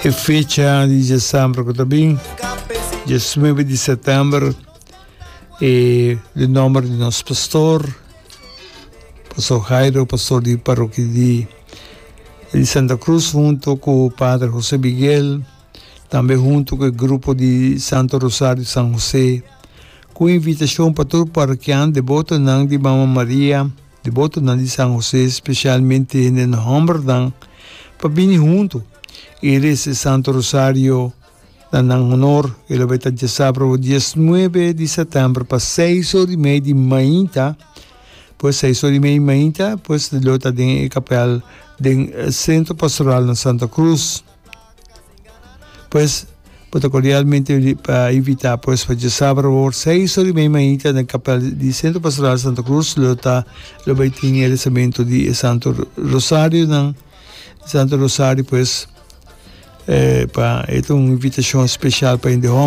E fecha di djesambra ku ta bin, diesnuebe di sètèmber, e den nòmber di nos pastor, Pastor Jairo, pastor di parokia di di Santa Cruz hunto ku Pader José Miguel, tambe hunto ku e grupo di Santo Rosario San José, ku invitashon pa tur parokian debotonan di Mama Maria, Debotonan di San José, specialmente hende hombernan, pa bini hunto y reza e Santo Rosario na nan honor. E lo bay ta diasabra diesnuebe di september pa seis ora y mei di mainta, pues seis ora y mei di mainta, pues lo ta den e kapel den Centro Pastoral na Santa Cruz. Pues, bo ta cordialmente pa invita pues pa djasabra awor seis ora y mei mainta na kapel di Centro Pastoral Santa Cruz lo ta lo bay tin e rezamento di e Santo Rosario nan Santo Rosario pues eh, pa e ta un invitacion special pa hende homber.